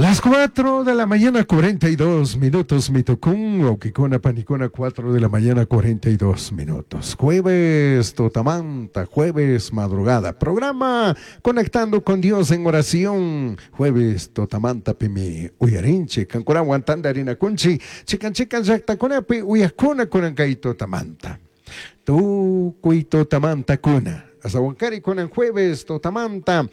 Las 4 de la mañana 42 minutos mitucún, huauquicuna, panicuna, 4 de la mañana 42 minutos. Jueves Totamanta, jueves madrugada. Programa Conectando con Dios en oración. Jueves Totamanta pimi uyarinchi, cancurawan tandarina kunchi, chican chican llaqtakunapi uyakuna kunan kay Totamanta. Tukuy Totamanta kuna. Asawankari kunan jueves Totamanta.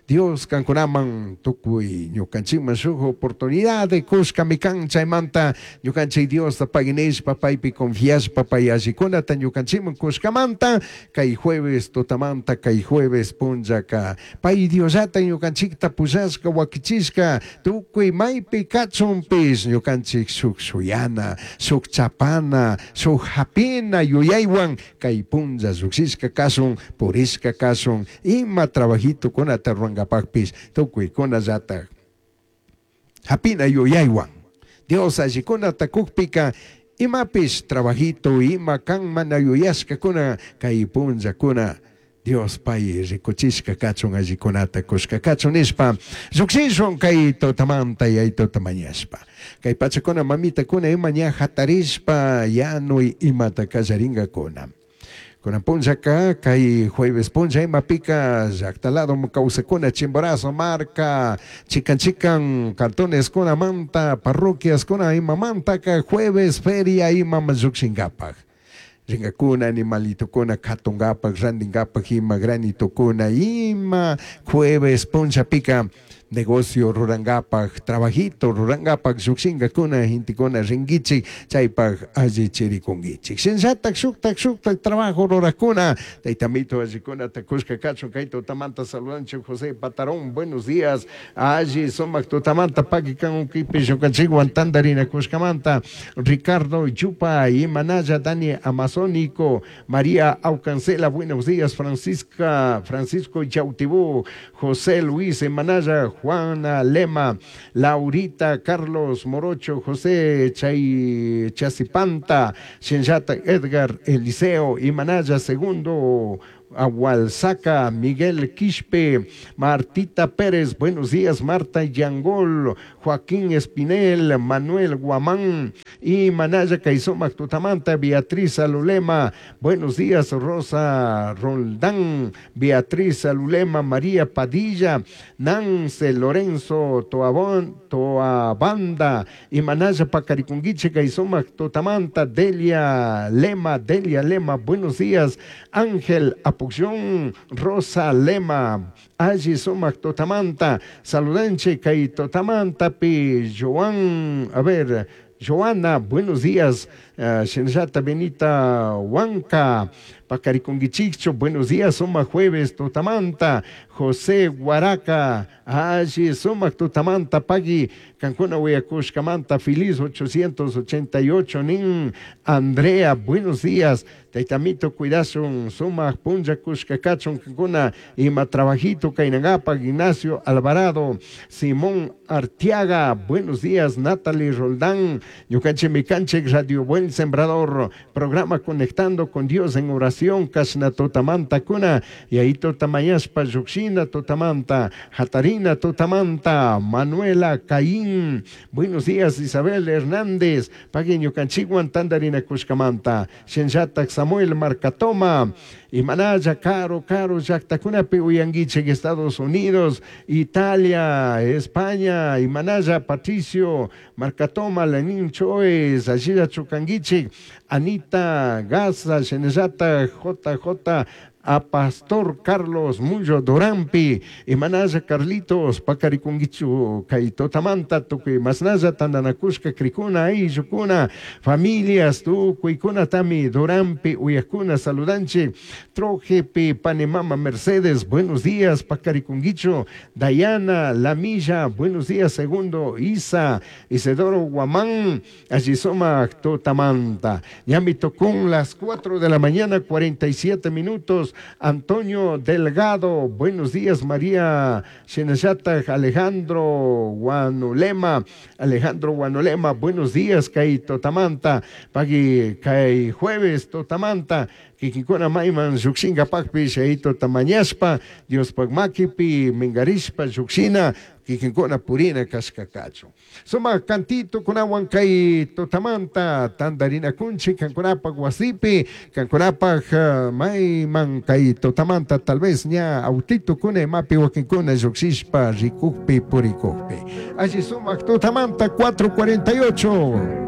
Dios kankunaman tukuy ñukanchikman shuk oportunidad kushkami kan chaymanta ñukanchik Diosta paginishpa paypi confiashpa pay allikunata ñukanchikman kushkamanta kay jueves tutamanta kay jueves punllaka pay Diosllata ñukanchikta pushashka wakichishka tukuy maypi kachunpish ñukanchik shuk shuyana shuk chapana shuk hapina yuyaywan kay punlla llukshishka kashun purishka kashun ima trabajitukunata ruranqapaqpis tukuykunallataj hapina yuyaywan Dios allikunata kukpika imapish trabajito ima kan mana yuyashkakuna kay punllakuna Dios pay rikuchishka kachun allikunata kushka kachun nishpa llukshishun kay tutamanta yaytuta mañashpa kay pachakuna mamitakuna ima ña hatarishpa yanuy imata kallarinkakuna. Kunan punllaka kay jueves punlla imapika llaqta lado kawsakuna Chimborazo marka chikan chikan cantoneskunamanta parroquiaskuna imamantaka jueves feria imaman llukshinkapak rinkakuna animalitukuna katunkapak rantinkapak ima granitukuna ima jueves punllapika negocio rurankapak trabajito rurankapak llukshinkakuna gentekuna rinkichik chaypak allichirikunkichik shinallatak shuktak shuktak trabajo rurakuna taytamito allikunata kushka kachun kay tutamanta saludanchik José Patarón buenos días alli sumak tutamanta paki kan ukipi ñukanchikwan tantarinakushkamanta Ricardo Yupa Imanaya Dani Amazónico María Aucancela buenos días Francisca Francisco Yautibú José Luis Emanaya Juana Lema Laurita Carlos Morocho José Chay Chasipanta Shinllata Edgar Eliseo Imanaya Segundo Agualzaca, Miguel Quispe, Martita Pérez, buenos días, Marta Yangol, Joaquín Espinel, Manuel Guamán y Manaya Caizomac Tutamanta, Beatriz Alulema, buenos días, Rosa Roldán, Beatriz Alulema, María Padilla, Nance Lorenzo Toabón, Toabanda y Manaya Pacaricunguiche Caizomac Tutamanta, Delia Lema, Delia Lema, buenos días, Ángel Apucción, Rosa Lema, Alli Sumac Totamanta, saludanche Kay Totamanta, Pi Joan, a ver, Joana, buenos días, Shinllata Benita Huanca, Pacariconguichicho, buenos días, Suma Jueves, Totamanta, José Guaraca, Alli Sumac Totamanta, Pagui, Cancuna Huayacushcamanta, Feliz 888, Nin, Andrea, buenos días, Taitamito, Cuidasun, Suma, Punja, Cuscacachon, Cancuna, Ima Trabajito, Cainagapa, Ignacio Alvarado, Simón Artiaga, buenos días, Natalie Roldán, Ñucanche Micanche, Radio Buen Sembrador, programa Conectando con Dios en Oración, Casna Totamanta Cuna, y ahí Totamayaspa, Yuxina Totamanta, Jatarina Totamanta, Manuela Caín, buenos días, Isabel Hernández, Pagui Ñucanchiguan, Tandarina Cuscamanta, Shenyatak Samuel Marcatoma, Imanaya, Caro, Caro, Llaqtakunapi uyankichik, Estados Unidos, Italia, España, Imanaya, Patricio, Marcatoma, Lenín Choes, Ashira Chukanguichik, Anita Gaza, Shenellata, JJ, a Pastor Carlos Mullo Dorampi, Imanaya Carlitos, Pacarikunguichu, Kaitotamanta, Tukuy Masnaya, Tandanakushka, Krikuna, Ayllukuna, familias, Tukuykuna, Tami, Dorampi, Uyakuna, saludanche, Trojepi, Panemama Mercedes, buenos días, Pacarikunguichu, Dayana, Lamilla, buenos días, segundo, Isa, Isidoro Guamán, Allisoma, Totamanta, Ñami Tocún, las 4 de la mañana, 47 minutos, Antonio Delgado, buenos días, María Shenayata, Alejandro Guanulema, Alejandro Guanulema, buenos días, Kai Totamanta, Pagui, Kai Jueves Totamanta, Kikinkuna mayman llukshinkapakpish Yayituta mañashpa, Diospaj makipi minkarishpa llukshina, kikinkuna purina kashka kachun. Sumak cantitukunawan kay tutamanta tantarinakunchik kankunapak wasipi, kankunapak mayman kay tutamanta tal vez ña autitukuna imapi wakinkuna llukshishpa rikukpi purikukpi. Alli sumak tutamanta 4:48.